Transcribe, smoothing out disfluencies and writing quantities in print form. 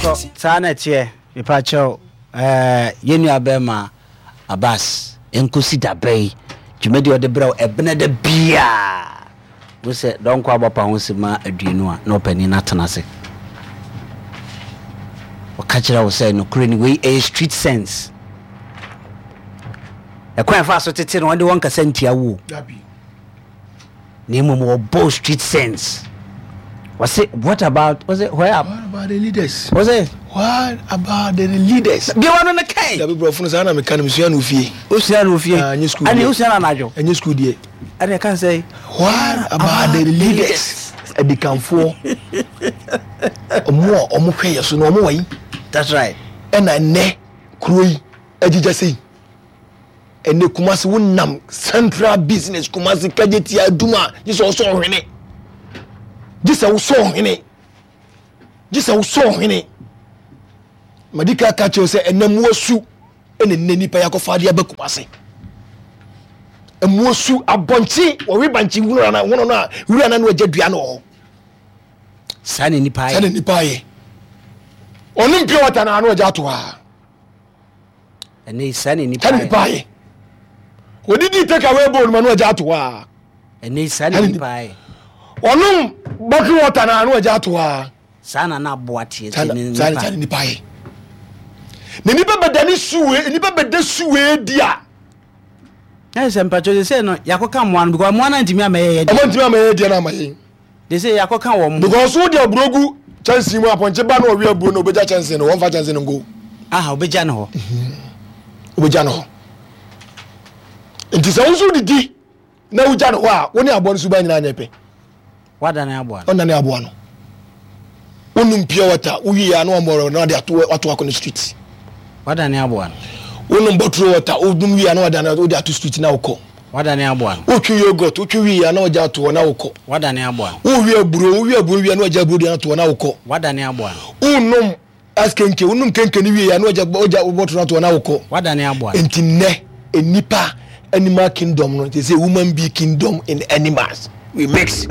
Yɛnkɔ, saa na ɛteɛ. Mepakyɛw, ɛɛ, yɛn nua bɛrima Abbas, ɛnkosi da bɛn? Dwumadi a ɔde brɛ wo ɛbena da biara. Wo sɛ dɔnkɔ abɔ pa ho sima 20 a, na ɔpanin no atena ase. Ɔka kyerɛ wo sɛ nokorɛ ni, wei ɛyɛ street sense. Ɛkwan ɛfa so tete no, wɔde wɔn kasa ntia wo o. Na mmom wɔbɔ street sense. Wɔse what about, wɔse where What about the leaders? Wɔse What about the leaders? Deɛ wɔn no kɛn. Dabi borɔfo no saa na meka no mesua no ofie. Osua no ofie. Ah, nye school deɛ. Ɛne osua no anadwo. Ɛnyɛ school deɛ. Ɛne ɛka sɛ. What about the leaders? Adikanfoɔ. Ɔmo a ɔmo hwɛ yɛ so no ɔmo wɔ yi. That's right. Ɛna nnɛ kuro yi agyigya sei. Ɛnɛ Kumasi wo nam central business Kumasi Kejetia Adum a gye sɛ ɔsɔ ɔhwene. Gye sɛ wosɔ ɔhwene. Gye sɛ wosɔ ɔhwene. Madi ka ka kyerɛ sɛ ɛnɛ mu asu ɛna nnɛ nipa yɛakɔfa adeɛ aba Kumasi. Ɛmu asu abɔnkye wɔwe bankye wura na hono no a wura na no agya dua no wɔ hɔ. Saa na nipa ayɛ. Saa na nipa ayɛ. Ɔnom pure water na ano agya ato ha. Ɛnɛ yi saa na nipa ayɛ. Nipa ayɛ. Odidi take away bowl ma no agya ato hɔ a. Ɛnɛ yi saa na nipa ayɛ. Ɔnom bottle water na ano agya ato hɔ a. Saa na na aboa teɛ te ne nipa. Saa na nipa ayɛ. Na nipa bɛda ne suwe nipa bɛda suwe di a. Na sɛ mpatwɛ sɛ sɛ no yakɔka mmoa no because mmoa no antumi amɛyɛ yɛ deɛ. Ɔmo ntumi amɛyɛ deɛ no ama yɛn. De sɛ yɛakɔka wɔn ho. Because wo de aburo gu kyɛnsee mu apɔnkye ba na ɔwe aburo no obegya kyɛnsee no wɔmfa kyɛnsee no nko. Aha obegya no hɔ. Mhm. Obegya no hɔ. Nti sɛ wo nso didi na wogya no hɔ a wo ne aboa no suban nyinaa nyɛ pɛ. Wadane aboa no. Ɔnane aboa no. Wonum pure water wowie a na wɔmmɔ na wɔde ato ato akɔ no street. Wadane aboa no. Wonom bottle water wonum wie a na wɔde wode ato street na wokɔ. Wadane aboa no. Wotwe yogurt wotwe wie a na wɔgya ato hɔ na wokɔ. Wadane aboa no. Wowie aburo wowie aburo wie a na wɔgya aburo deɛ ato hɔ na wokɔ. Wadane aboa no. Wonom ice kenke wonom kenke no wie a na wɔgya wɔgya bottle no ato hɔ na wokɔ. Wadane aboa no. Nti nnɛ nnipa animal kingdom no te sɛ woman be kingdom in animals we mix.